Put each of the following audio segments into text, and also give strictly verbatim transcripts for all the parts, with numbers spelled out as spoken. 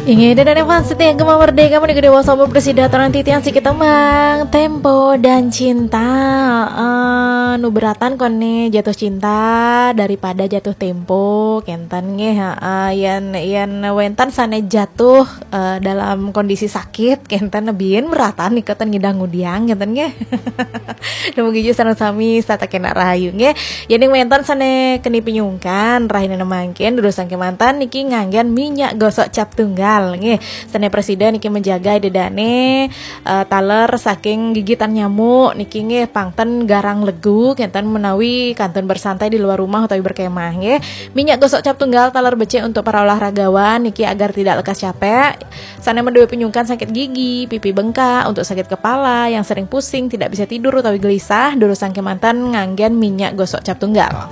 Inggih, ida dané fans setia Gema Merdeka, menika Dewa Sobo presida torang titiang sikit tembang Tempo dan Cinta. Eh, nu beratan koné jatuh cinta daripada jatuh tempo, kénten nggih, heeh. Yén, yén wénten sané jatuh, eh, dalam kondisi sakit, kénten, biin beratan nika ten ngidang ngudiang, kénten nggih. Dumugi sareng sami sarta kénak rahayu nggih. Yén wénten sané keni pinyungkan, rahina mangkin durusang kémanten niki nganggén minyak gosok cap tunggal nggih. Sané presida niki menjaga ida dané, eh, taler saking gigitan nyamuk niki nggih, pang ten garang legu, kénten menawi kantun bersantai di luar rumah utawi berkemah nggih. Minyak gosok cap tunggal taler becik untuk para olahragawan niki agar tidak lekas capek. Sané madué pinyungkan sakit gigi, pipi bengkak, untuk sakit kepala, yang sering pusing, tidak bisa tidur utawi gelisah, durusang kémanten nganggén minyak gosok cap tunggal.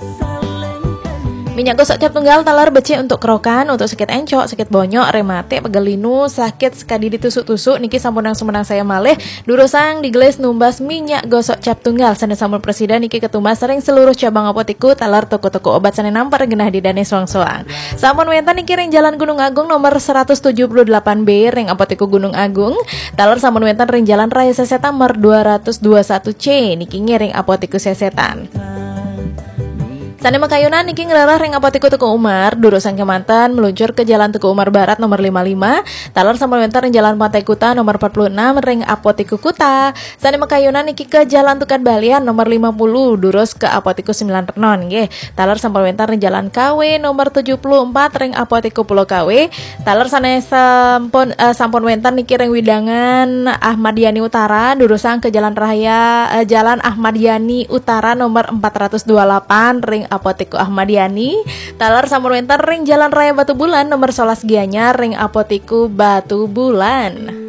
Minyak gosok cap tunggal taler becik untuk kerokan, untuk sakit encok, sakit bonyok, rematik, pegel linu, sakit sekadi ditusuk-tusuk, niki sampunang sumenang saya malih, durusang digelis numbas minyak gosok cap tunggal. Sané sampun presida niki ketumbas ring seluruh cabang apotiku taler toko-toko obat sané nampar genah ida dané soang-soang. Sampun wénten niki ring Jalan Gunung Agung nomor seratus tujuh puluh delapan B ring Apotiku Gunung Agung. Taler sampun wénten ring Jalan Raya Sesetan nomor dua ratus dua satu C niki nggih ring Apotiku Sesetan. Sané makayunan niki ngrereh ring Apotiku Teuku Umar, durusang kémanten meluncur ke Jalan Teuku Umar Barat nomor lima lima, taler sampun wénten ring Jalan Pantai Kuta nomor empat puluh enam ring Apotiku Kuta. Sané makayunan niki ke Jalan Tukad Balian nomor lima puluh, durus ke Apotiku Sembilan Renon nggih. Taler sampun wénten ring Jalan Kawe nomor tujuh puluh empat ring Apotiku Pulau Kawe. Taler sané sampun, eh, sampun wénten niki ring wewidangan Ahmad Yani Utara, durusang ke Jalan Raya, eh, Jalan Ahmad Yani Utara nomor empat ratus dua lapan ring Apotiku Ahmad Yani. Taler sampun wénten ring Jalan Raya Batubulan nomor sebelas Gianyar ring Apotiku Batubulan.